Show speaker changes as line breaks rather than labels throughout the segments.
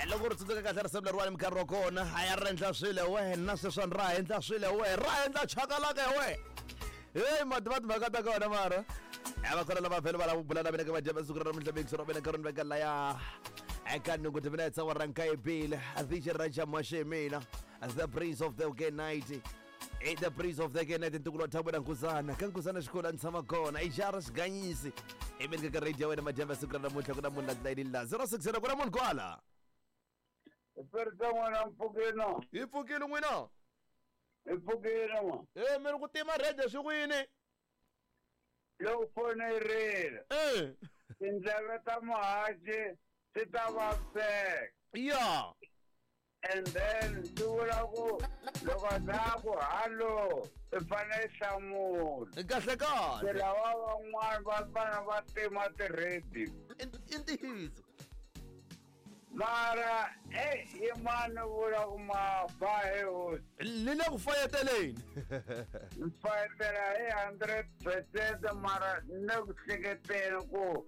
Loko ri tsundzuka kahle risimu leriwani minkarhi wa kona a ya ri endla swilo wena sweswiwani ra endla swilo we ra endla chakalaka we heyi mativa timhaka ta kona mara a va kona lava vhele va lava ku bula na mina ka madyambe siku ra namuntlha mixo ra mina nkarhi ni veka laya eka nhungu timinetse wa ranka ibile vj raja mashemina the prince of the gay night. I the prince of the gay night, ntukulu wa Thabo na Nkuzana ka Nkuzana xikolo a ni tshama kona i jara xiganyisi emeni ka radio ya wena madyambe siku ra namuntlha ku na munhu la tilayinini la 060 ku na munhu kwala.
Perita n'wana mpfukino.
Hi pfukile n'wina.
Hi pfukile n'wa.
E mi ri ku tima radio swi ku yini?
Loko foni yi rila. Tindleve ta muhaxi ti ta vaviseka.
Ya.
And then swi vula ku loko za ku hallo i fanele i hlamula.
Kahle kahle.
Se lava van'wana va fanele va tima ti-radio.
I ntiyiso.
Mara e yimani vula ku ma ba he hosi.
Ni le ku fayeteleni.
Ni fayetela hi 100% mara ni le ku hleketeni ku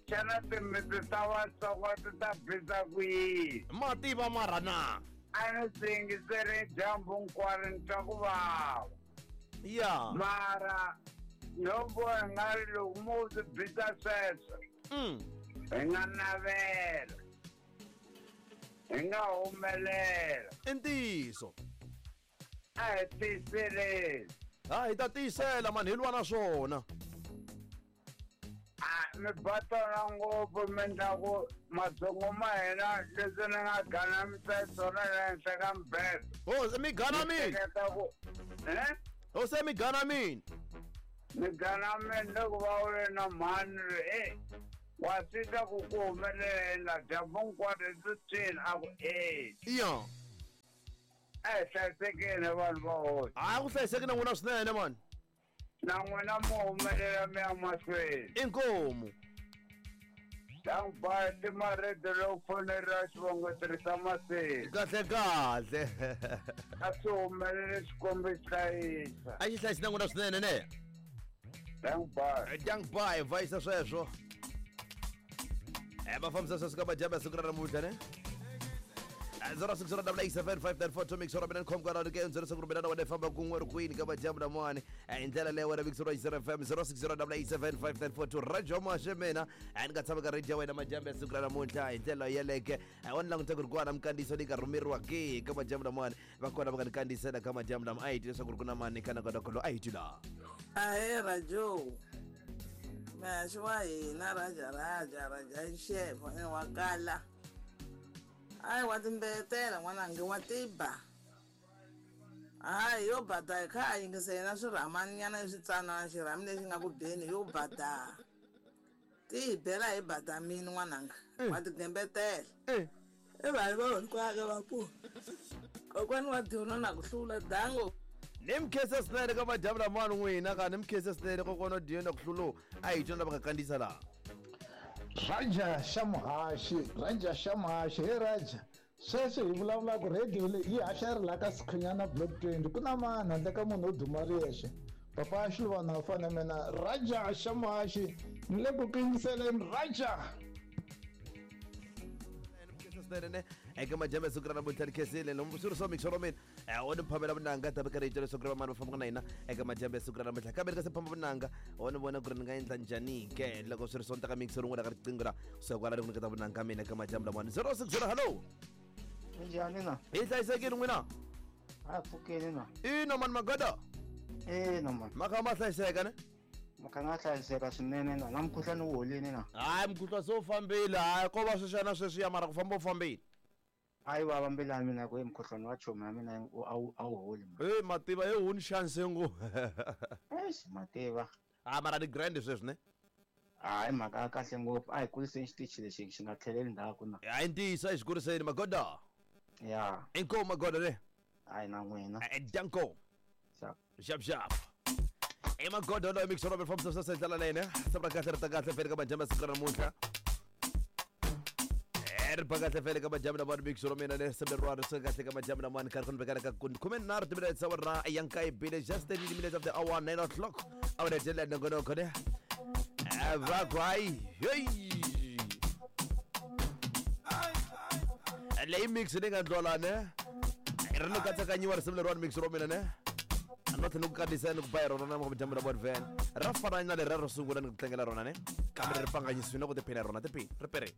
xana timitsu ta Vatsonga ti ta bisa ku yini?
Ma tiva mara na?
A ni swi yingiseri dyambu hinkwaro ni twa ku vava.
Ya.
Mara no vona nga ri loko mo swi bisa sweswo hi nga navela hi nga humelela.
I ntiyiso.
A hi tiyiseleni.
Ha hi ta tiyisela mani hi lwa na swona.
A mi ba tona ngopfu mi endla ku matsongo ma hina leswi ni nga ganamisa swona la henhla ka mibedo.
Ho se mi ganamini.
Hleketa ku eh?
Ho se mi ganamini.
Mi ganamini loko va vule na mhani ri e wa swi twa ku ku humelela dyambu hinkwaro i swi a ku e.
Ya.
A hi hlayisekeni vanhu va hosi.
Hayi ku hlayiseki na n'wina swinene mani.
Na n'wina mo humelela mi ya mahlweni.
Inkomu.
Dank ba timarede loko foneri xivongo tirhisa maseli.
Kahle kahle.
A swi humelele Xikwembu xi hlayisa.
A xi hlayisi na n'wina swinene ne.
Dank ba.
Dank ba vayisa sweswo. Va fambisa sweswo ka madyambe ya siku ra namuntlha ne. 06087594 mix ra mina ni khomka ra ke ndzeri siku mina na wena famba kun'we ri kwini ka madyambu lamawani hi ndlela leyo wena mix ra FM 06087594 radio mashe mina ni nga tshama ka radio ya wena madyambu ya siku ra namuntlha hi ndlela yeleke wa ni languta ku ri kwana minkandziyiso leyi nga rhumeriwa ke ka madyambu lamawani va kona va nga ni kandziyisela ka madyambu lama a hi twi leswaku ri ku na mani ka nakonakolo a hi twi laha.
Ahee Rajo, muhaxi wa hina Raja Raja Raja Xefo ene wa kala. Hayi wa timbeyetela n'wananga wa tiba. Hayi yo bada hi kha a yingisa yena swirhamani nyana leswitsanana xirhami lexi nga ku beni yo bada. Ti hi bela hi bada mini n'wananga wa tigembetela. I vanhu va hinkwako va ku kokwani wa dyona na ku hlula dango.
Ni mi khensa swinene ka madyambu lamawani n'wina ka ni mi khensa swinene kokwana wa dyona ku hlula a hi twona lava nga kandziyisa laha.
Raja xa muhaxi, Raja xa muhaxi, he Raja, sweswi hi vulavulaka radio leyi yi haxa ri la ka Sikhunyana Block 20 ku na mani handle ka munhu wo duma ri yexe papa Xiluvana wa fana mina Raja xa muhaxi ni le ku ku yingiseleni Raja.
Swinene eka madyambe siku ra namuntlha ni khensile swi ri swa mixo ra mina o ni phamela vunanga ta ka rito leswaku ri vamani va fambaka na hina eka madyambe siku ra namuntlha kambe ni nga se phamba vunanga o ni vona ku ri ni nga endla njhani ke loko swi ri sonta ka mixo rin'wana ka riqingho ra kusuka kwala ni ku nyiketa vunanga mina eka madyambu lamawani 060 hallo.
Minjhani na?
Hi hlayisekile n'wina?
A pfukeni na.
Ina mani magada.
Ina mani.
Ma kha ma hlayiseka ne?
Ma kha nga hlayiseka swinene na na mukhuhlwani wu holini na.
Hayi mukhuhlwa se wu fambile hayi ko va sweswiya na sweswiya mara ku famba wu fambile.
A yi vava mbilu ya mina ku mukhuhlwani wa chomi ya mina a wu holi
man. Hey mativa he huni chance ngo.
Eish mativa.
Ah mara ni grand sweswi ne.
Hayi mhaka ya kahle ngopfu a hi kuriseni xitichi lexi xi nga tlheleli ndzhaku na.
Hayi ntiyiso a hi xi kuriseni magoda.
Ya.
Inkomu magoda ne.
Hayi na n'wina.
Danko.
Xap.
Xap xap. I magoda loyi mixo Robert fambisa swa ndlela leyi ne. Sabra kahle ri ta kahle fele ka madyambu ya siku ra namuntlha. Ri ba kahle fele ka madyambu lamawani mixo ra mina ne sembe ri swi kahle ka madyambu lamawani karhi ku ni vekela ka khume nharhu timinetse ta ra ya nkaye bile just 30 minutes of the hour 9 o'clock a wu hetelela nongonoko ne. Va ku hayi heyi leyi mix ni nga ndlola ne ri ni katsakanyiwa risimu leriwani mix ro mina ne a no tlhela ni ku kandziyisa ni ku ba hi rona na dyambu ra van ra fana na leri ro sungula ni ku tlangela rona ne kambe ri pfanganyisiwile na ku tiphina hi rona tiphini ri perini.